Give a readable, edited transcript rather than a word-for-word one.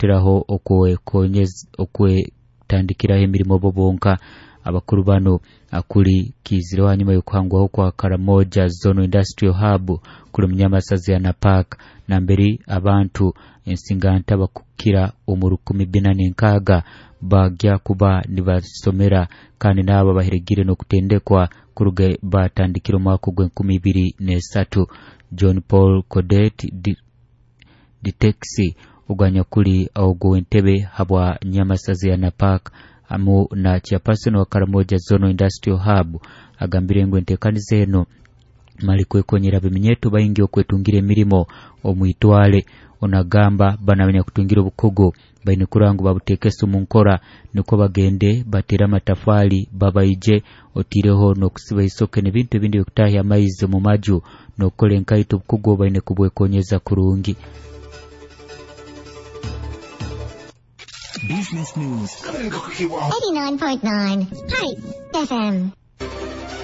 Teraho okwetandikiraho emirimo bo bonka. Abakuru bano akuli kizireho hanyuma y'okuhangwaho kwa Karamoja Zonal Industrial Hub kuli Munyamasazi ya Napak, namberi abantu ensinganta bakukira omu 460 bagya kuba nibasomera, kandi n'abo baheregire n'okutendekwa kuruga batandikira omwaka ogw'enkumi ibiri n'esatu. John Paul Codet Ditexi ogwanyakuli ogw'entebe habwa Nyamasazi ya Napak amu na chairperson wa Karamoja Zonal Industrial Hub agambire ngu entekaniza eno mali kwekonyera abeminyeto baingi okwetungira emirimo omwitwale. Onagamba banamenya kutungira obukugu baine kurangu babutekesa omu nkora niko bagende batera amatafali babaije otireho n'okusiba isoke n'ebintu ebindi byokutahya amaizi omu maju n'okukola enkaito. Obukugu baine kubwekonyeza kurungi. Business News 89.9 Hype FM.